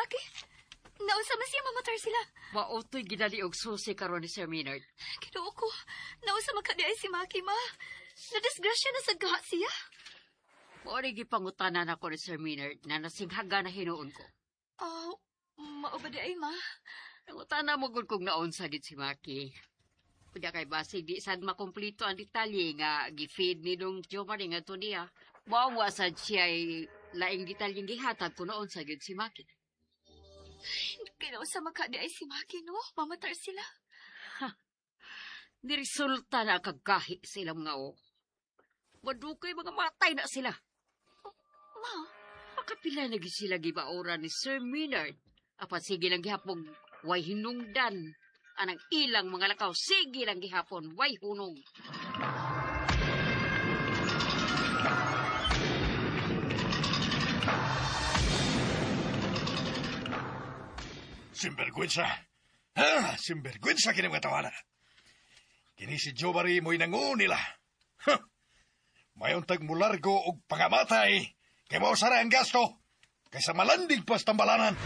Maki? Naunsa man siya mamatar sila? Mautoy gidali og susi karon ni Sir Maynard. Kinuo ko, naunsa man kadi ay si Maki, ma? Nadisgrasya na sa gaha siya. Mao ni gipangutanan ako ni Sir Maynard na nasinghaga na hinuon ko. Oh, mao ba di ay, ma? Nangutana mo gud kung naunsa gid si Maki. Unya kay basig di sad makumplito ang detalye nga gi-feed ni dong Jo Marie nga to niya. Mao wa sad siya ay laing detalyeng gihatag kung naunsa gid si Maki. Kinaunsa man kadi ay si Maki, no? Mamatar sila. Niresulta na kagahi sa ilang mga o. Madukay mga matay na sila. Ma, Makapila na gid sila gibaoran ni Sir Maynard. Apan sige lang gihapon, way hinungdan. Anang ilang mga lakaw, sige lang gihapon, way hunong. Sinvergüenza. Ha, sinvergüenza kini mga tawana. Kini si Joe Marie mo'y nangu nila. Ha! Mayon tag mulargo og pangamatay kay mao sara ang gasto kaysa malandig pa sa tambalanan.